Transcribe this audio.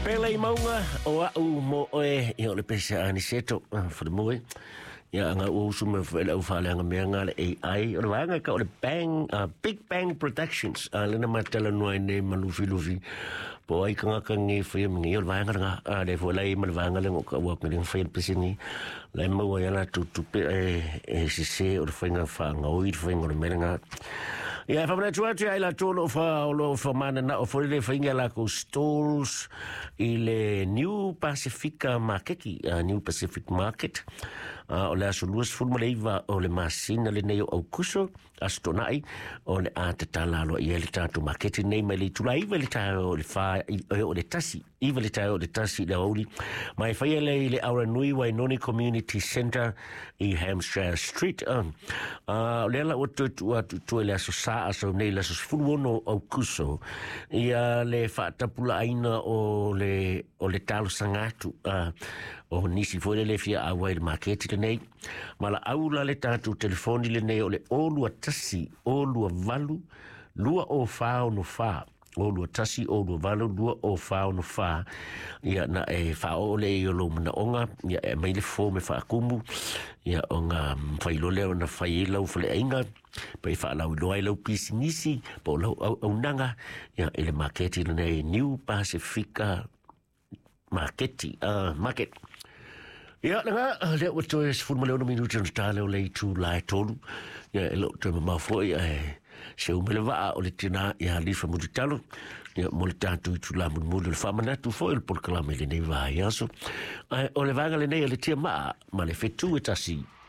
Pele i mauga o au mo oe ia o le pese a Aniceto fale moe. Ia anga ua usu me fo ele au whaaleanga mea ngā le AI. O le vaega ka o le Bang, Big Bang Productions. Lena matala noa nei ma lufi lufi. Po ai ka ngaka ngi whai mingi. O le vaega nga le fo lai ma le vaega le ngoka ua ngi whai le pese ni. Lai maua ia la tutupe e sise o le whainga whaanga oi le whainga o le mea nga. Ia, whamanatu atu ai la tolo fa o lo fa mana na o fo le whainga la ko stalls i le New Pacific Market, New Pacific Market. O le aso 29 o le masina lenei o Aukuso, aso Toonai, o le a tatala aloa i ai le tatou maketi nei mai le itula 9 i le taeao o le 4 o le 1, 9 i le taeao o le 1 i le aoauli. Ma e faia lea i le Aranui Wainoni Community Centre i Hampshire Street. O lea la ua toe tuu atu i tua i le aso Sa, aso nei le aso 16 o Aukuso, ia le faatapulaaina o le talosaga atu o nisi foi lele fia auai i le maketi lenei. Ma la au la le tatou telefoni lenei o le 021 028 20464, 021 028 20464. Ia na e whaoo le i o lou manaonga, ia e mai le form e whaakumu, ia o ngā whailo lea na whai e lau whaleaiga, pa i whaalau iloa ai lau pisinisi, po o lau au aunaga, ia i le maketi lenei New Pacifica Maketi, Market. Ia, langa, lea ua toe 16 minuti ona ta leo le itu la e 3. Ia, e loo toe mamao foi, e se ume le vaa o le tina ia Lifa Mulitalo. Ia, mo le tatou itula mulimuli o le faamanatu foi o le polokalame i lenei vaiaso. Ae o le vaega lenei o le tia maa ma le fetu e tasi.